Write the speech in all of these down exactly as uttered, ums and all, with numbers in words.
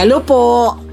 Hello po.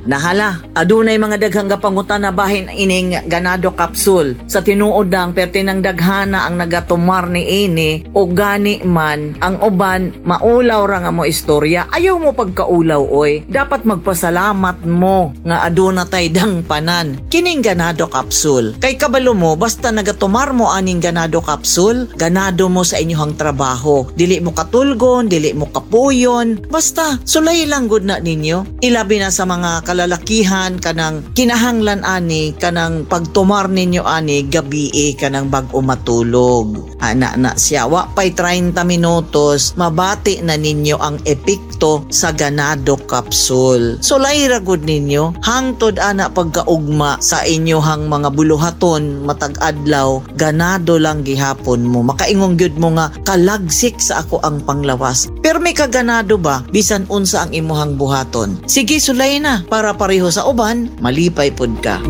Nahala, adunay mga daghang gapangutana bahin ining ganado capsule. Sa tinuod lang perti ng daghana ang nagatumar ni ini o gani man ang uban maulaw ra nga mo istorya. Ayaw mo pagkaulaw oy. Dapat magpasalamat mo nga aduna tay dangpanan. Kining ganado capsule. Kay kabalo mo basta nagatumar mo aning ganado capsule, ganado mo sa inyong trabaho. Dili mo katulgon, dili mo kapuyon, basta sulay lang gud na ninyo. Ilabi na sa mga kalalakihan kanang kinahanglan ani kanang pagtumar ninyo ani gabi kanang bag-o matulog. Ana na siya wa pay trenta minutos mabati na ninyo ang epekto sa ganado capsule. Sulay ra gud ninyo hangtod ana pagkaugma sa inyohang mga buluhaton matag adlaw, ganado lang gihapon mo. Makaingon gyud mo nga kalagsik sa ako ang panglawas. Pero may kaganado ba bisan unsa ang imuhang buhaton? Sige, sulay na para pareho sa uban, malipay pud ka.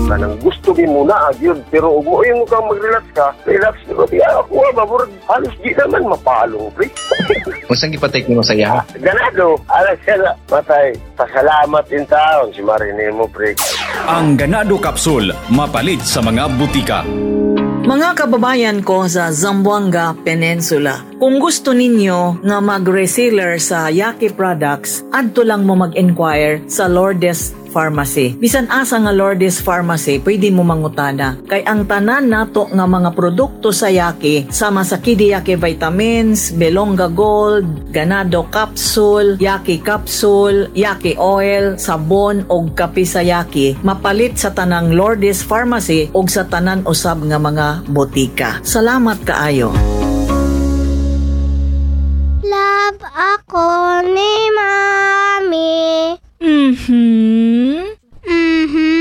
Kanang gusto gi mo na gyud, pero ug mo mo kang mag-relax ka, relax ko di ako ba murag halos di naman mapalong, pre. Unsang gipatake nimo sa iya? Ganado, ala siya matay. Pasalamat in taon si Marine mo, pre. Ang Ganado Capsule, mapalit sa mga butika. Mga kababayan ko sa Zamboanga Peninsula, kung gusto ninyo nga mag-reseller sa Yaki products, adto lang mo mag-inquire sa Lourdes Pharmacy. Bisan asa nga Lourdes Pharmacy, pwede mo mangutana. Kay ang tanan nato nga mga produkto sa Yaki, sama sa Kidiyaki Vitamins, Belonga Gold, Ganado Capsule, Yaki Capsule, Yaki Oil, sabon og kape sa Yaki, mapalit sa tanang Lourdes Pharmacy og sa tanan usab nga mga botika. Salamat kaayo. Love ako ni Mami. Mhm.